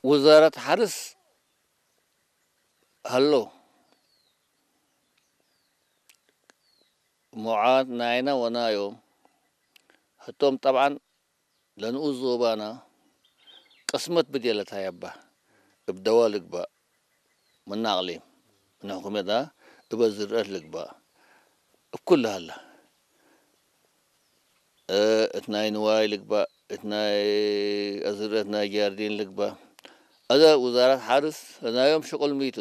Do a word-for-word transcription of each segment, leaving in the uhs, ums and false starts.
ውዛረት ሐርስ ሀሎ፣ ሙዓት ናይነ ወናዮም፣ ህቶም ጠብዐን ለንኡስ ዞባና ቅስመት ብድየ ለታየባ፣ እብ ደዋ ልግባእ፣ ምን አቅሊም፣ ምን ሕኩመት እበ ዝርአት ልግባእ፣ እብ ኩሉ ሀለ። እ፣ እት ናይ ንዋይ ልግባእ፣ እት ናይ አዝርአት ናይ ጃርዲን ልግባእ። አዘ ውዛረት ሐርስ ለናዮም ሽቁል ሚቱ።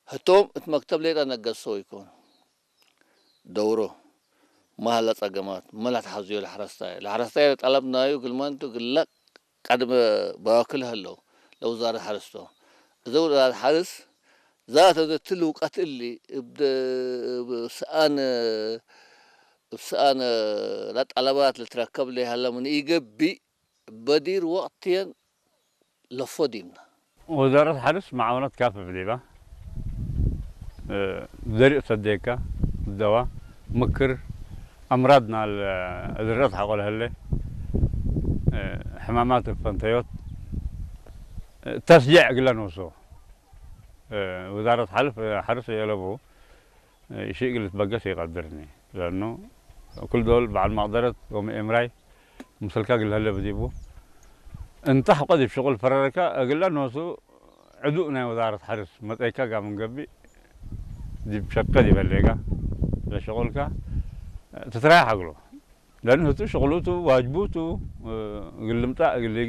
ህቶም እት መክተብ ሌጠ ነገሶ ኢኮን። ደውሮ፣ መ ሀለ ጸገማት፣ መ ለትሐዝዮ ለሐረስታይ። ለሐረስታይ ለጠለብ ናዩ እግል መንቱ እግለ ቀድመ ባክል ሀለው፣ ለውዛረት ሐርስ ቶም። እዘ ውዛረት ሐርስ ዛተ እዘ እትሊ ውቀት እሊ እብ ደ-፣ እብ ሰአን፣ እብ ሰአን ለጠለባት ልትረከብ ለሀለ ምን ኢገብእ፣ በዲር ወቅትየን ለፎ ዲብነ። ወዛረት ሐርስ መዓወነት ካፍፍ ዲባ፣ እ፣ ዘርእ ሰዴከ፣ ደዋ፣ ምክር፣ አምራድ ናል ዝርአት ሐቆ ለሀለ፣ እ፣ ሕማማት ፈንተዮት፣ እ፣ ተስጀዕ እግለ ኖሶ፣ እ፣ ወዛረት ሐልፍ፣ ሐርስ የለቡ፣ እሺ እግል ልትበገስ ኢቀድርኒ። ለአኑ ክል ዶል በዐል መቅደረት ወምኤምራይ ምስልከ እግል ለሀለ ብዲቡ። እንተ ሐቆ ዲብ ሽቁል ፈረረከ እግለ ኖሱ ዕዱእ ናይ ወዛረት ሐርስ መጽአይከ ጋር ምን ገብእ ዲብ ሸቀ ዲብ ህሌከ ለሽቁልከ ትትራየሕ እግሉ። ለአኑ ህቱ ሽቁሉቱ ዋጅቡቱ እግል ልምጻእ እግል ሊጊ